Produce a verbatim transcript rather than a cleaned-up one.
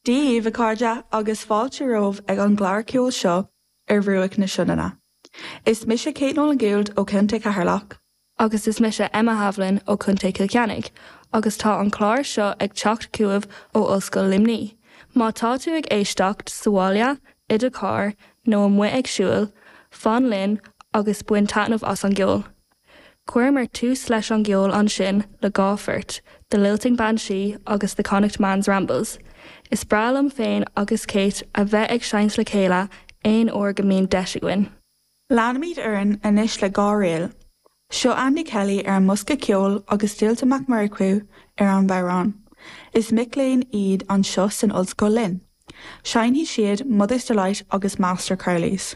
Dia daoibh a chairde agus fáilte romhaibh ag an gclár ceoil seo ar Bhruach na Sionainne. Is mise Kate Nolan Gould ó Chontae Cheatharlach. Agus is mise Emma Havlin ó Chontae Chill Chainnigh, agus tá an clár seo ag teacht chugaibh ó Ollscoil Luimnigh. Má tá tú ag éisteacht sa bhaile, i do charr nó amuigh ag siúl, fan linn agus bain taitneamh as an gceol. Chuireamar tús leis an gceol ansin le dhá phort, The Lilting Banshee agus The Connacht Man's Rambles. Is breá liom féin agus Kate a bheith ag seinnt le chéile aon uair go mbíonn deis againn. Leanfaimid orainn anois le dhá ríl. Seo Andy Kelly ar an mbosca ceoil agus Dualta Mac Murchú ar an bhodhrán. Is mic léinn iad anseo san ollscoil linn. Seinnfidh siad Mother's Delight agus Master Crowley's.